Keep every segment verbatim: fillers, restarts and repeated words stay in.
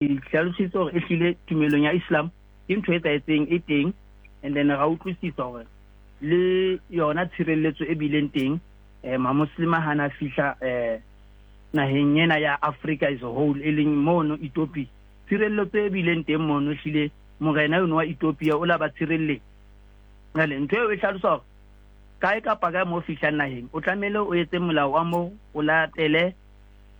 Hlalositse hore ehlile tumelong ya Islam ke ntho e etsahetseng e teng, and then ra utlwisisa hore le yona tshireletso e bileng teng eh mamuslima hana fihla eh naheng ena ya Africa as a whole, e leng mono Ethiopia. Tshireletso e bileng teng mono, hlile morena eno wa Ethiopia o la ba tshireletsa. Jwale ntho eo e hlalosa hore kae kapa kae mo fihlang naheng, o tlamehile o etse molao wa moo, o latele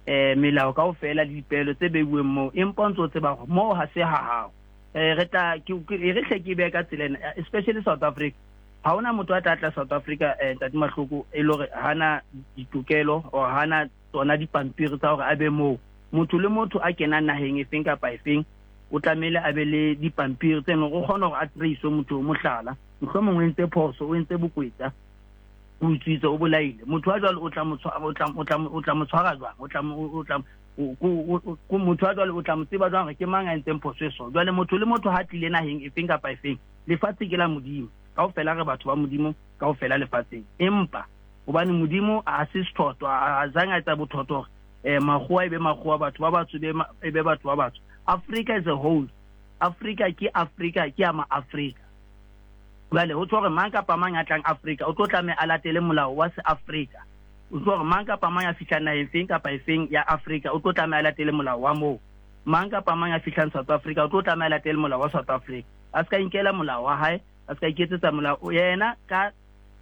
eh melao kaofela le dipehelo tse beuweng moo, empa o ntso tseba hore moo ha se ha hao. eh re tla ke re hle ke behe ka tsela ena, especially South Africa. Ha hona motho a tla tla South Africa, eh Ntate Mahloko, e le hore hana ditokelo or hana tsona dipampiri tsa hore a be moo. Motho le motho a kenang naheng efeng kapa efeng o tlamehile a be le dipampiri tse leng o kgona hore a trace motho. Mohlala, mohlomong o entse phoso, o entse bokwetsa, o utswitse, o bolaile motho wa jwalo, o tla mo o tla o tla o tla mo tshwara jwang? o tla o tla ko motho wa jwalo o tla mo tseba jwang hore ke mang a entseng phoso e so? Jwale motho le motho ha tlile naheng efeng kapa efeng, lefatshe ke la Modimo kaofela, re batho ba Modimo kaofela lefatsheng. Empa hobane Modimo a se sethoto, a zang a etsa bothoto hore eh makgowa e be makgowa, batho ba batsho e be batho ba batsho. Africa is a whole, Africa ke Africa, ke ya ma-Afrika. Jwale ho tjho hore mang kapa mang a tlang Afrika o tlo tlameha a latele molao wa se-Afrika. O tjho hore mang kapa mang a fihlang naheng feng kapa efeng ya Afrika o tlo tlameha a latele molao wa moo. Mang kapa mang a fihlang South Africa o tlo tlameha a latele molao wa South Africa, a se ka inkela molao wa hae, a se ka iketsetsa molao yena. Ka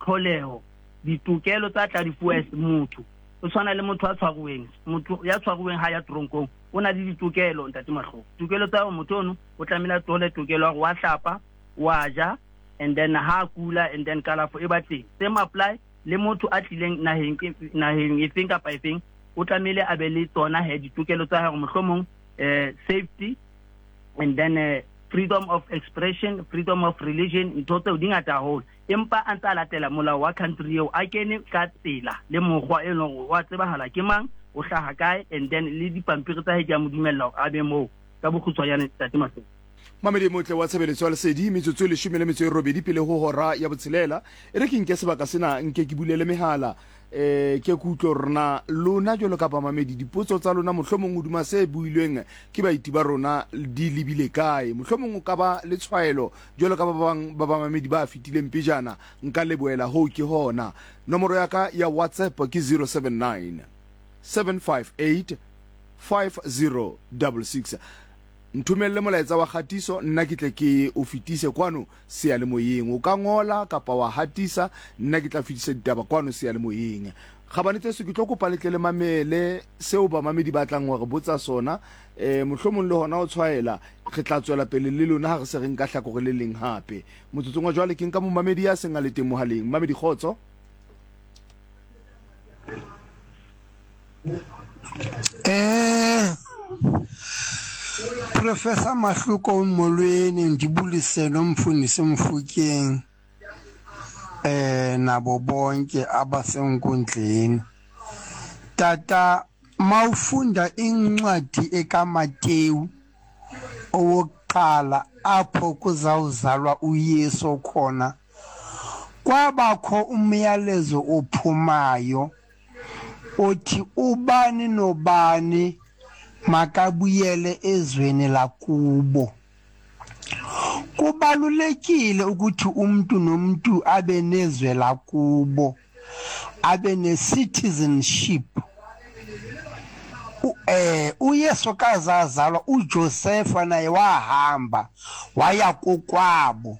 tlholeho ditokelo tsa tla di fuwa motho o tshwana le motho a tshwaruweng. Motho ya tshwaruweng ha ya tronkong o na le ditokelo, Ntate Mahloko. Tokelo tsa motho ono, o tlamehile a thole tokelo ya hore wa hlapa, wa ja, and then ha a kula, and then kalafo e ba teng. Same apply le motho a tlileng naheng naheng efeng kapa efeng, o tlamehile a be le tsona he ditokelo tsa hore mohlomong eh safety and then uh, freedom of expression, freedom of religion, ntho tseo di ngata haholo, empa a ntse a latela molao wa country eo, a kene ka tsela le mokgwa e leng hore wa tsebahala ke mang, o hlaha kae, and then le dipampiri tsa hae di a mo dumella hore a be moo. Ka bokgutshwanyane, Ntate Mahloko. Mamedi motle wa tshebeletso ya Lesedi, metsotso e leshome le metso e robedi pele ho hora ya botshelela. E re ke nke sebaka sena, nke ke bulele mehala, eh ke kutlo rona lona jwalo ka bamamedi, dipotso tsa lona mohlomong hodima se builweng ke baeti ba rona di lebile kae. Mohlomong o ka ba le tshwaelo jwalo ka ba bang ba bamamedi ba fetileng pejana. Nka lebohela hoo. Ke hona nomoro ya ka ya WhatsApp ke zero seven nine seven five eight five zero six six. Nthomelle molaetsa wa kgatiso, nna ke tle ke o fetise kwano seyalemoyeng. O ka ngola kapa wa hatisa, nna ke tla fetisa ditaba kwano seyalemoyeng. Gabane tseso, ke tlo kopa letle le mamele seo bamamedi ba tlang hore botsa sona, um mohlomong le hona o tshwaela. Re tla tswela pele le lona ha re se re nka hlakore le leng hape. Motsotsong wa jwale ke nka momamedi ya seng a le teng mohaleng. Mamedi, kgotso. Eh Professor Mahluko, molweni, ndibulise nomfundisi Mfukeng eh nabo bonke abasenkundleni. Tata, mawufunda incwadi ekaMateyu owokuqala apho kuzawuzalwa uYesu khona, kwabakho umyalezo ophumayo othi ubani nobani makabuyele ezweni lakubo. Kubalulekile ukuthi umuntu nomuntu abe nezwe lakubo, abe ne-citizenship. Eh uYesu kazazalwa, uJosepha naye wahamba waya kokwabo.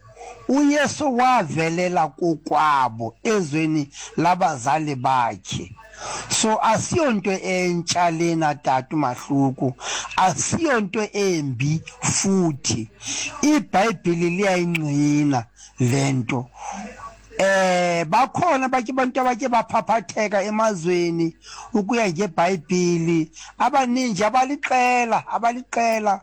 UYesu wavelela kokwabo ezweni labazali bakhe. So asiyonto entsha lena, tata Mahluku, asiyonto embi futhi iBhayibheli liyayingqina lento. Eh bakhona bake abantu abake baphaphatheka emazweni ukuya ngeBhayibheli, abaninji, abaliqela abaliqela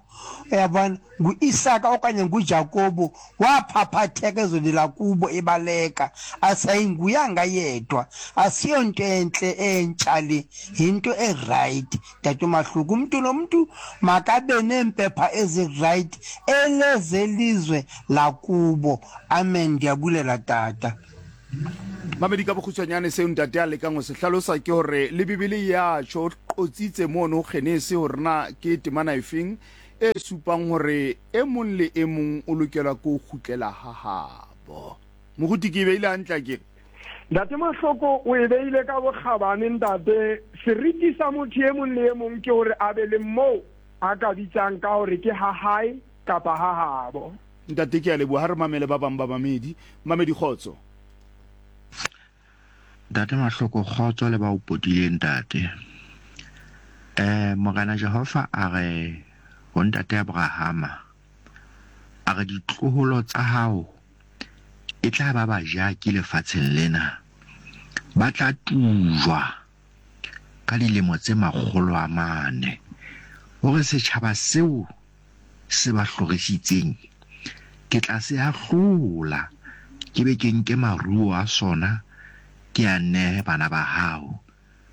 uyabona, nguIsaka okanye nguJakobo waphaphatheka ezweni lakubo ebaleka, asayinguyanga yedwa. Asiyonto entle entsha le, yinto e-right, tata uMahluko. Umntu nomntu makabe neempepha ezi-right elezelizwe lakubo. Amen, ndiyabulela, tata. Mamedi, ka bokgutshwanyane seo ntate a lekang ho se hlalosa ke hore le Bibele ya tjho, o qotsitse mono Genese hore na ke temana efeng e supang hore e mong le e mong o lokela ke ho kgutlela ha habo. Moruti, ke e beile hantle akere? Ntate Mahloko, o e beile ka bokgabane ntate. Seriti sa motho e mong le e mong ke hore a be le moo a ka bitsang ka hore ke ha hae kapa ha habo. Ntate, ke a leboha. Ha re mamele ba bang ba mamedi. Mamedi, kgotso. Ntate Mahloko, kgotso le ba o potileng ntate. Eh Morena Jehova a re ho ntate Abrahama, a re ditloholo tsa hao e tla ba bajaki lefatsheng lena, ba tla tujwa ka dilemo tse makgolo a mane, hore setjhaba seo se ba hlorisitseng ke tla se ahlola, ke be ke nke maruo a sona ke a nehe bana ba hao,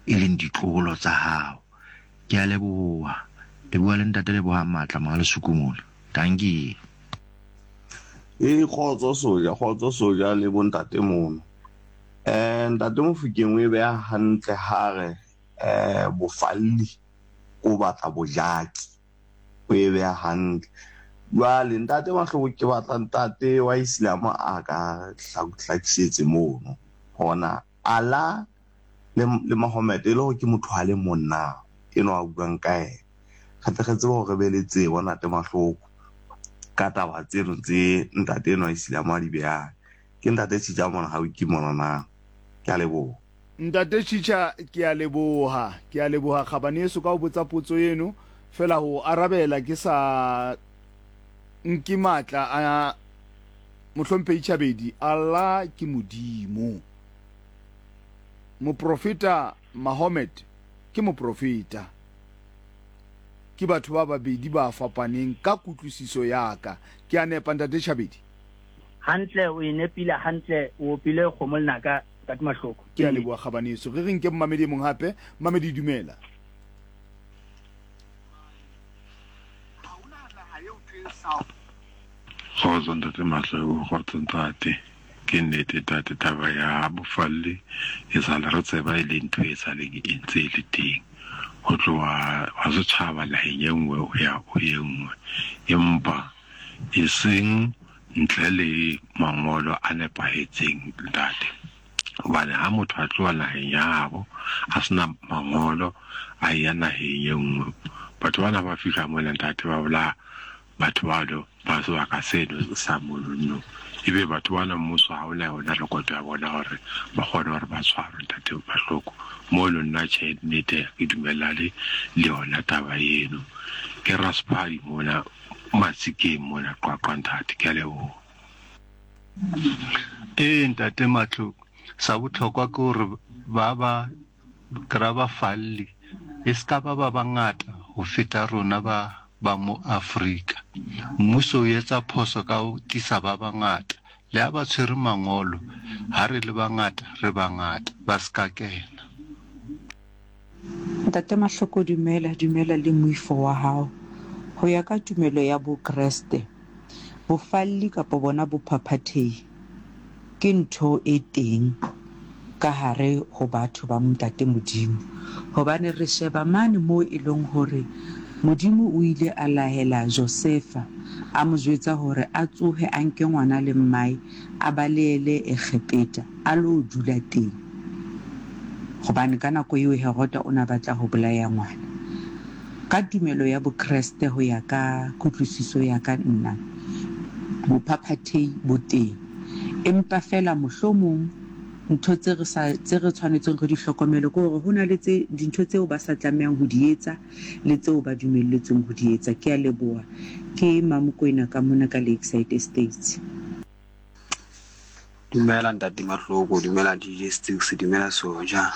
e leng ditloholo tsa hao. Ke a leboha. Le bua le ntate Lebohang Matla Mohalesuku mona. Dankie. E kgotso soja, kgotso soja le bontate mono. Eh ntate Mofokeng o e beha hantle ha re eh bofalli o batla bojaki. O e beha hantle. Jwale ntate Mahloko, ke batla ntate wa Islam a ka hlakisetse mono. Hona Allah le le Mahomet e le hore ke motho a le mong na eno a buang ka yena. Re tle re tsebe hore re be le tsebo ntate Mahloko ka taba tseno tse ntate enwa Islam a di behang. Ke ntate Chicha mona ha o ke mona na. Ke a leboha. Ntate Chicha, ke a leboha. Ke a leboha kgabane eso ka ho botsa potso eno. Fela ho arabela ke sa nke matla a mohlomphehi Chabedi. Allah ke Modimo. Moprofeta Mahomet ke moprofeta. Ke batho ba babedi ba fapaneng ka kutlwisiso ya ka. Ke a nepa ntate Chabedi? Hantle, o e nepile hantle, o opile kgomo lenaka ntate Mahloko. Ke a leboha kgabaneso. Re re nke mmamedi e mong hape. Mmamedi, dumela. Kgotso ntate Mahloko, kgotso ntate. Ke nnete ntate, taba ya bofalli e sale re tseba e le ntho e saleng e ntse e le teng ho tloha wa setjhaba naheng e nngwe ho ya ho e nngwe, empa e seng ntle le mangolo a nepahetseng ntate. Hobane ha motho a tloha naheng ya habo a sena mangolo a ya naheng e nngwe, batho bana ba fihla mona ntate ba bolaya batho bano ba sebaka seno sa monono. Ebe batho bana mmuso ha ona yona rekoto ya bona hore ba kgone hore ba tshwarwe ntate Mahloko. Mono nna tjhe, nnete ke dumellane le yona taba eno. Ke Rasphadi mona Matsikeng mona Qwaqwa ntate. Ke a leboha. Ee ntate Mahloko, sa bohlokwa ke hore ba ba kry-a bafalli e se ka ba ba bangata ho feta rona ba ba mo Afrika. Mmuso o etsa phoso ka ho tlisa ba bangata. Le ha ba tshwere mangolo, ha re le bangata re bangata, ba se ka kena. Ntate Mahloko, dumela, dumela le moifo wa hao. Ho ya ka tumelo ya Bokreste, bofalli kapa bona bophaphathehi ke ntho e teng ka hare ho batho ba Ntate Modimo. Hobane re sheba mane moo e leng hore Modimo o ile a lahela Josefa, a mo jwetsa hore a tsohe a nke ngwana le mmae a balehele Egepeta a lo dula teng. Hobane ka nako eo Heroda o na batla ho bolaya ngwana. Ka tumelo ya Bokreste ho ya ka kutlwisiso ya ka nna, bophaphathehi bo teng. Empa fela mohlomong ntho tse re sa tse re tshwanetseng re di hlokomele ke hore ho na le tse dintho tseo ba sa tlamehang ho di etsa le tseo ba dumelletsweng ho di etsa. Ke a leboha. Ke Mamokwena ka mona ka Lakeside Estates. Dumela ntate Mahloko, dumela D J Sticks, dumela Soja.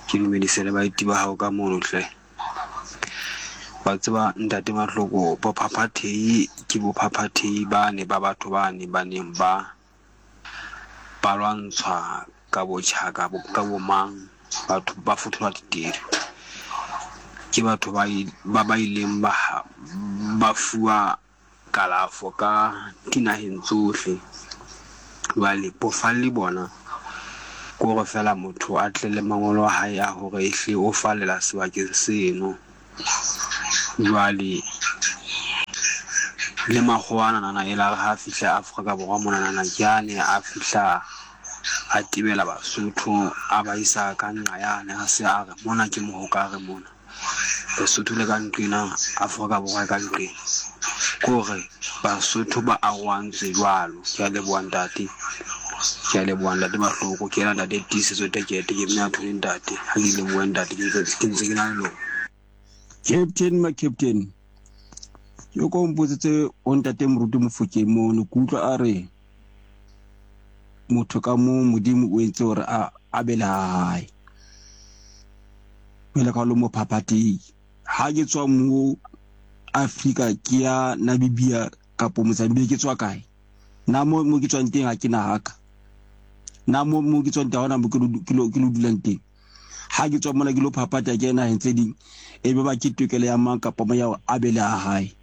Ke dumedise le baeti ba hao ka mono hle. Wa tseba ntate Mahloko, bophaphathehi ke bophaphathehi bane ba batho bane ba neng ba ba lwantshwa ka botjhaka, ka bomang, batho ba fotholwa ditedu. Ke batho ba ba ba ileng ba ba fuwa kalafo ka dinaheng tsohle. Jwale bofalli bona ke hore fela motho a tle le mangolo a hae a hore ehle o fallela sebakeng seno. Jwale Le makgowa anana e la re ha fihla Afrika Borwa monanana ke ane a fihla a tebela Basotho a ba isa ka nqa yane a se a re mona ke mohokare mona. Lesotho le ka nqena, Afrika Borwa e ka nqena. Ke hore Basotho ba arohantswe jwalo. Ke a leboha ntate. Ke a leboha ntate Mahloko. Ke yena ntate Tiisetso Tekete ke mme a thole ntate. Ha ke lebohe ntate ke ntse ke na le lona. Captain ma captain. Ke ko mpotsetse o ntate Moruti Mofokeng mono ke utlwa a re motho ka mo Modimo o entse hore a a be le hae. Jwale ka lo mo phaphathehi. Ha ke tswa mo Afrika ke ya Namibia kapo Mozambique ke tswa kae? Na mo mo ke tswang teng ha ke na haka. Na mo mo ke tswang teng ha hona mo ke lo ke lo ke lo dulang teng. Ha ke tswa mona ke lo phaphatha ke naheng tse ding e be ba ke tokelo ya mang kapa mo ya hore a be le ha hae.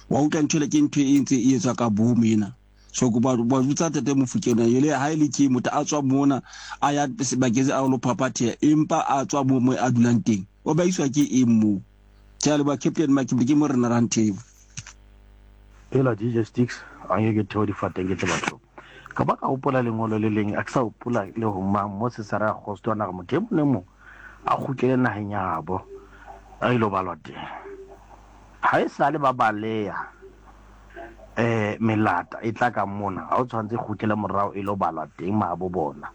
Wa utlwa ntho ele ke ntho e ntse e etswa ka bomo ena. So ko ba ba botsa Ntate Mofokeng ele ha ele ke motho a tswa mona a ya sebakeng a lo phaphatheha empa a tswa mo mo a dulang teng. O ba iswa ke eng moo? Ke a leboha Captain Makibli ke Morena Ranthebo. Hela D J Sticks a nke ke theo difateng ke tle bathong. Ka ba ka hopola lengolo le leng a ke sa hopola le ho mang mo Cesare Augusto a na re motho e mong le mong a kgutlele naheng ya habo a ilo balwa teng. Ha e sale ba baleha eh melata e tla ka mona ha o tshwantse kgutlele morao e lo balwa teng mahabo bona.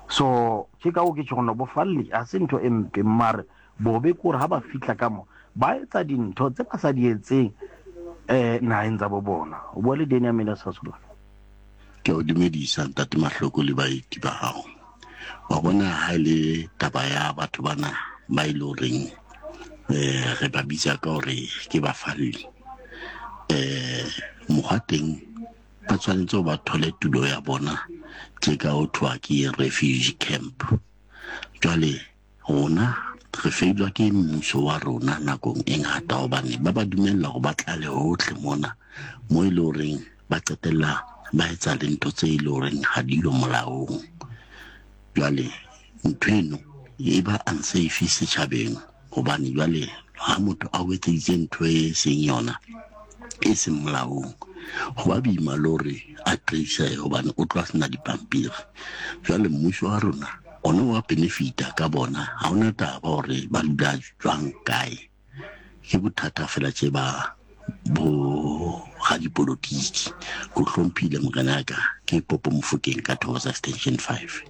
So ke ka o ke tjho bofalli ha se ntho e mpe mare bobe ke hore ha ba fihla ka mo ba etsa dintho tse ba sa di etseng eh naheng tsa bo bona. O bua le Daniel Miller Sasolo. Ke o dumedisa Ntate Mahloko le baeti ba hao. Wa bona ha ile taba ya batho bana ba ile horeng eh re ba bitsa ka hore ke bafalli. Eh mokgwa teng ba tshwanetse ho ba thole tulo ya bona tje ka ho thwa ke refugee camp. Jwale rona re feilwa ke mmuso wa rona nakong e ngata hobane ba ba dumella hore ba tlale hohle mona mo e le horeng ba qetella ba etsa le ntho tse e le horeng ha di yo molaong. Jwale ntho eno e ba unsafe setjhabeng hobane jwale ha motho a o etseditse ntho e seng yona e seng molaong ho ba boima le hore a trace hobane o tloha sena dipampiri. Jwale mmuso wa rona ona wa benefita ka bona ha hona taba hore ba dula jwang kae. Ke bothata fela tje ba bo radipolotiki. Ko hlomphile morena ka ke Popo Mofokeng ka Thokoza Extension five.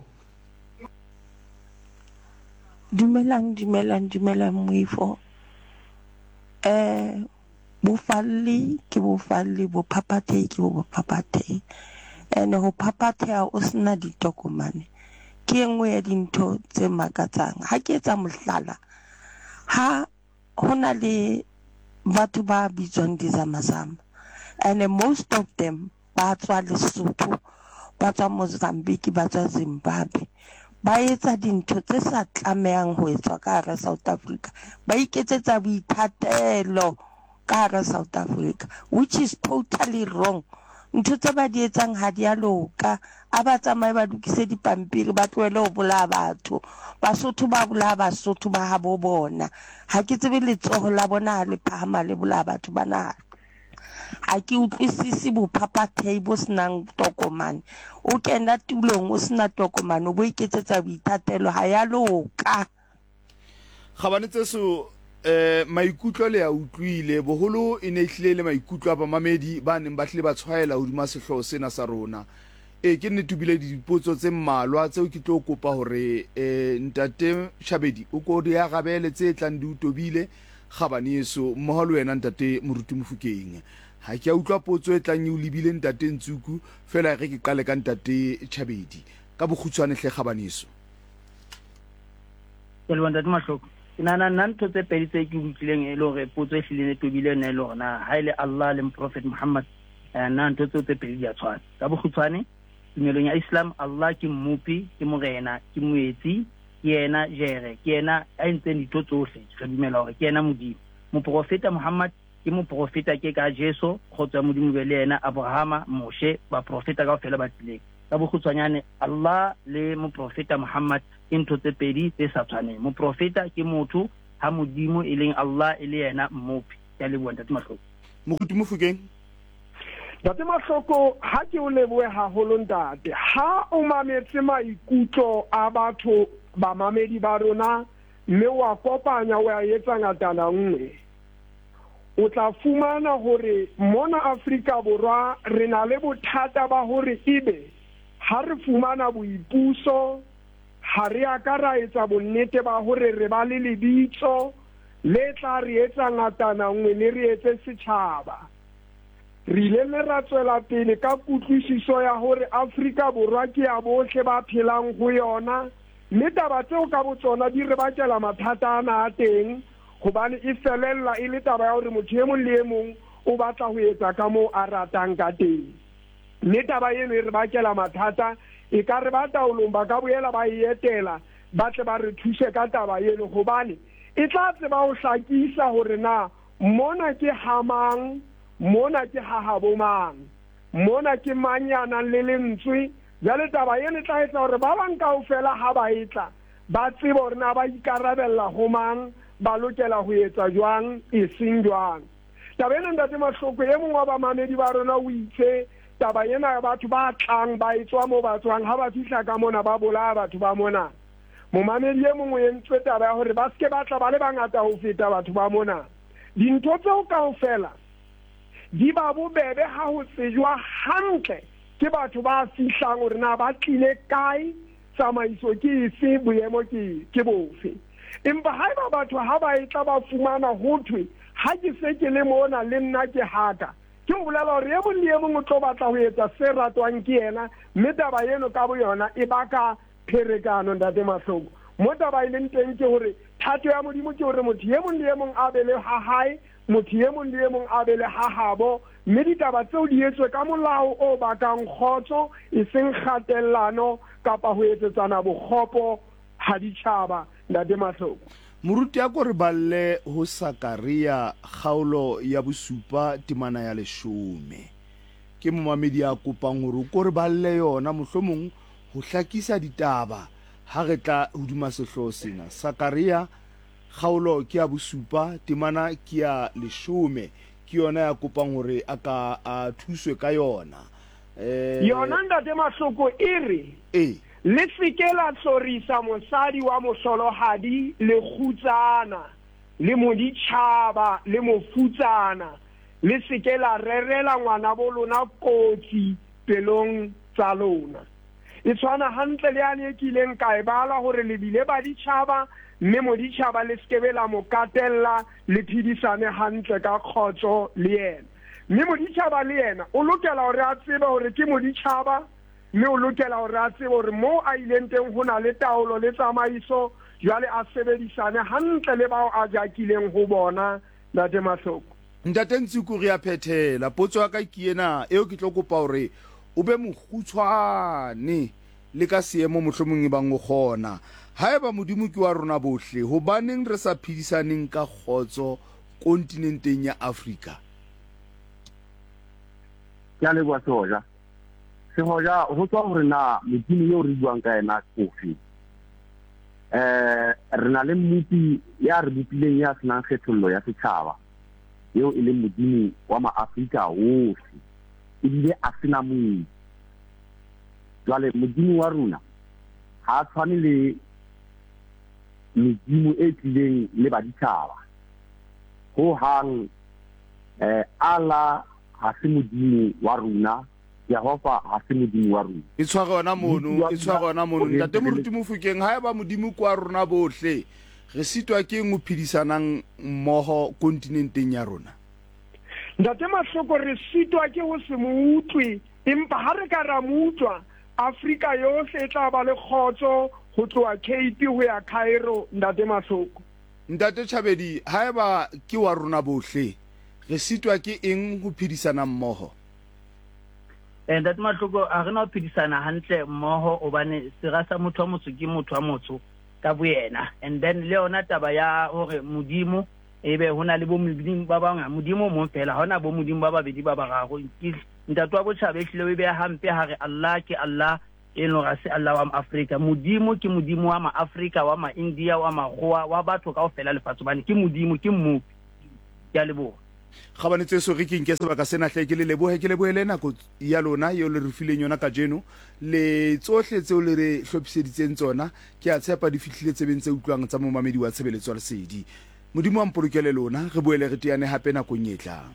Dumelang, dumelang, dumelang moifo. Eh bofalli ke bofalli, bophaphathehi ke bophaphathehi. Ene ho phaphatheha o sena ditokomane ke e nngwe ya dintho tse makatsang. Ha ke etsa mohlala, ha hona le batho ba bitswang dizamazama and most of them ba tswa Lesotho, ba tswa Mozambique, ba tswa Zimbabwe. Ba etsa dintho tse sa tlamehang ho etswa ka hara South Africa. Ba iketsetsa boithatelo ka hara South Africa, which is totally wrong. Ntho tse ba di etsang ha di a loka. A ba tsamaye ba lokise dipampiri, ba tlohele ho bolaya batho. Basotho ba bolaya Basotho ba habo bona. Ha ke tsebe letsoho la bona ha le phahama le bolaya batho ba naha. Ha ke utlwisise bophaphathehi bo senang tokomane. O kena tulong o sena tokomane, o bo iketsetsa boithatelo, ha ya loka. Kgabane tseso eh maikutlo le a utlwile boholo e ne hlile le maikutlo a bamamedi ba neng ba hlile ba tshwaela hodima sehlooho sena sa rona. E ke nnete bile dipotso tse mmalwa tseo ke tlo kopa hore eh ntate Shabedi o ko di arabele tse tlang di utobile kgabane eso mmoho le wena ntate Moruti Mofokeng. Ha ke a utlwa potso e tlang e o lebile ntate Ntsuku fela re ke qale ka ntate Chabedi ka bokgutshwane hle kgabane eso. Ke leboha ntate Mahloko. Ke nahana nna ntho tse pedi tse ke utlwileng e le hore potso e hlileng e tobile yona e le hore na ha e le Allah le Prophet Muhammad nna ntho tseo tse pedi di a tshwana. Ka bokgutshwane tumelong ya Islam Allah ke mmopi, ke morena, ke moetsi, ke yena jere, ke yena a entseng dintho tsohle. Re dumela hore ke yena Modimo. Moprofeta Muhammad ke moprofeta ke ka Jesu, kgotso ya Modimo be le yena, Abrahama, Moshe, baprofeta kaofela ba tlileng. Ka bokgutshwanyane Allah le moprofeta Muhammad ke ntho tse pedi tse sa tshwaneng. Moprofeta ke motho, ha Modimo e leng Allah e le yena mmopi. Ke a leboha ntate Mahloko. Moruti Mofokeng. Ntate Mahloko, ha ke o lebohe haholo ntate. Ha o mametse maikutlo a batho bamamedi ba rona mme wa kopanya wa etsa ngatana nngwe, o tla fumana hore mona Afrika Borwa re na le bothata ba hore ebe ha re fumana boipuso ha re a ka ra etsa bonnete ba hore re ba le lebitso le tla re etsa ngatana nngwe le re etse setjhaba. Re ile mme ra tswela pele ka kutlwisiso ya hore Afrika Borwa ke ya bohle ba phelang ho yona, mme taba tseo ka botsona di re bakela mathata ana a teng, hobane e felella e le taba ya hore motho e mong le e mong o batla ho etsa ka moo a ratang ka teng. Mme taba eno e re bakela mathata, e ka re ba taolong ba ka boela ba e etela ba tle ba re thuse ka taba eno, hobane e tla tseba ho hlakisa hore na mona ke ha mang, mona ke ha habo mang, mona ke mang ya nang le lentswe. Jwale taba eno e tla etsa hore ba bang kaofela ha ba etla ba tsebe hore na ba ikarabella ho mang, ba lokela ho etsa jwang, eseng jwang. Taba ena ntate Mahloko, e mong wa bamamedi ba rona o itse taba ena ya batho ba tlang ba etswa moo ba tswang, ha ba fihla ka mona ba bolaya batho ba mona. Momamedi e mong o entse taba ya hore ba seke ba tla ba le bangata ho feta batho ba mona. Dintho tseo kaofela di ba bobebe ha ho tsejwa hantle ke batho ba fihlang hore na ba tlile kae, tsamaiso ke efe, boemo ke ke bofe. Empa haeba batho ha ba etla ba fumana ho thwe ha ke se ke le mona le nna ke haka, ke ho bolela hore e mong le e mong o tlo batla ho etsa se ratwang ke yena, mme taba eno ka boyona e baka pherekano ntate Mahloko. Mo taba e leng teng ke hore thato ya Modimo ke hore motho e mong le e mong a be le ha hae, motho e mong le e mong a be le ha habo, mme ditaba tseo di etswe ka molao o bakang kgotso, eseng kgatellano kapa ho etsetsana bokgopo ha ditjhaba ntate Mahloko. Moruti a ko re balle ho Sakaria kgaolo ya bosupa temana ya leshome. Ke momamedi a kopang hore o ko re balle yona mohlomong ho hlakisa ditaba ha re tla hodima sehlooho sena. Sakaria kgaolo ke ya bosupa temana ke ya leshome, ke yona ya kopang hore a ka a thuswe ka yona. Eh yona ntate Mahloko e re eh le seke la hlorisa mosadi wa mohlolohadi le kgutsana le moditjhaba le mofutsana, le seke la rerela ngwana bo lona kotsi pelong tsa lona. E tshwana hantle le yane e kileng ka e bala hore le bile baditjhaba, mme moditjhaba le sekebe la mo katella, le phedisane hantle ka kgotso le yena. Mme moditjhaba le yena o lokela hore a tsebe hore ke moditjhaba, mme o lokela hore a tsebe hore moo a ileng teng ho na le taolo le tsamaiso, jwale a sebedisane hantle le bao a jakileng ho bona ntate Mahloko. Ntate Ntsiko, re a phethela. Potso ya ka ke ena eo ke tlo kopa hore o be mokgutshwane le ka seemo mohlomong e bang o kgona. Haeba Modimo ke wa rona bohle, hobaneng re sa phedisaneng ka kgotso kontinenteng ya Afrika? Ke a leboha Sehoja. Sehoja, ho tswa hore na Modimo eo re buang ka yena ke ofe. Eh re na le mmopi ya re bopileng ya senang kgethollo ya setjhaba, eo e leng Modimo wa maAfrika ohle, ebile a sena mong. Jwale Modimo wa rona ha a tshwane le medimo e tlileng le baditjhaba ho hang. Eh Allah ha se Modimo wa rona, Jehova ha se Modimo wa rona. E tshware yona mono, e tshware yona mono. Ntate Moruti Mofokeng, haeba Modimo ke wa rona bohle, re sitwa ke eng ho phedisanang mmoho kontinenteng ya rona? Ntate Mahloko, re sitwa ke ho se mo utlwe, empa ha re ka ra mo utlwa, Afrika yohle e tla ba le kgotso ho tloha Cape ho ya Cairo ntate Mahloko. Ntate Chabedi, haeba ke wa rona bohle, re sitwa ke eng ho phedisana mmoho? Eh ntate Mahloko, a re na ho phedisana hantle mmoho hobane sera sa motho wa motho ke motho wa motho ka boyena. And then le yona taba ya hore Modimo ebe hona le bo modimo ba bang, Modimo mong fela, ha hona bo modimo ba babedi ba bararo. Ke ntate wa botjhaba ehlile o e beha hampe ha re Allah ke Allah, e leng hore ha se Allah wa Afrika. Modimo ke Modimo wa ma-Afrika, wa ma-India, wa Makgowa, wa batho kaofela lefatshe, hobane ke Modimo, ke Mmopi. Ke a leboha. Kgabane tseso, re ke nke sebaka sena hle ke le lebohe, ke lebohele nako ya lona eo le re fileng yona kajeno le tsohle tseo le re hlophiseditseng tsona. Ke a tshepa di fihlile tsebeng tse utlwang tsa momamedi wa tshebeletso ya Lesedi. Modimo a mpolokele lona, re boele re teane hape nakong e tlang.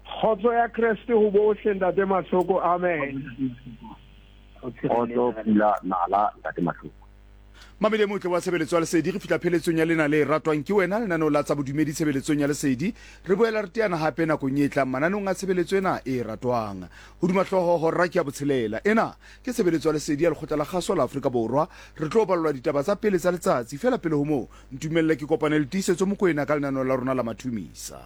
Kgotso ya Kreste ho bohle, Ntate Mahloko. Amen. Kgotso, pula, nala, Ntate Mahloko. Mamedi e motle wa tshebeletso ya Lesedi, re fihla pheletsong ya lena le ratwang ke wena, lenaneo la tsa bodumedi tshebeletsong ya Lesedi. Re boela re teana hape nakong e tlang mananeong a tshebeletso ena e ratwang. Hodima hlooho hora ke ya botshelela. Ena ke tshebeletso ya Lesedi ya Lekgotla la Kgaso la Afrika Borwa. Re tlo ballwa ditaba tsa pele tsa letsatsi. Feela pele ho moo, ntumelle ke kopane le Tiisetso Mokoena ka lenaneo la rona la Mathumisa.